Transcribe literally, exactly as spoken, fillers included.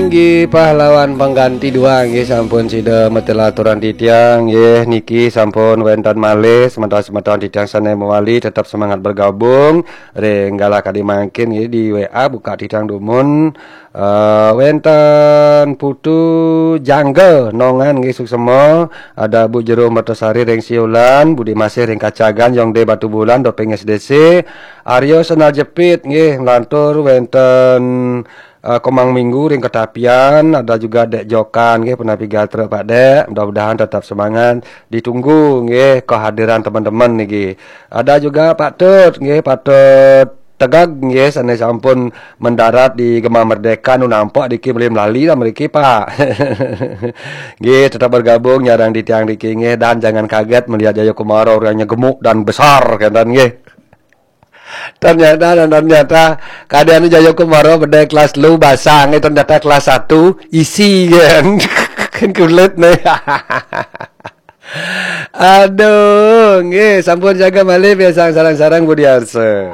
Inggih pahlawan pengganti dua, nggih sampun sida metelaturan titiang, nggih niki sampun wenten malih semeton-semeton titiang sane mewali tetap semangat bergabung ring galah kadi mangkin, nggih di W A buka titiang dumun. Eh, wenten Putu Jangga Nongan, nggih suksema, ada Bu Jero Mertasari ring Siulan, Budi Masih ring Kacagan, Yong De Batu Bulan, Doping S D C, Aryo Senal Jepit, nggih, nglantur wenten eh, Komang Minggu ring Ketapian, ada juga Dek Jokan, nggih, punapi gatra Pak Dek. Mudah-mudahan tetap semangat. Ditunggu, nggih, kehadiran teman-teman niki. Ada juga Pak Tut, nggih, Pak Tut Tegag, nggih, sane sampun mendarat di Gema Merdeka, nu nampak diki beli melali lah mriki, Pak. Nggih, tetap bergabung nyareng titiang diki, nggih, dan jangan kaget melihat Jayakumara orangnya gemuk dan besar, kenten, nggih. Ternyata, ternyata, kadi anu Jayakumara bedai kelas telu basang, eh, ternyata kelas satu isi kan. Kan kulit nih. Aduh, nggih, sampun jaga malih pisan sareng-sareng Budi Arsa.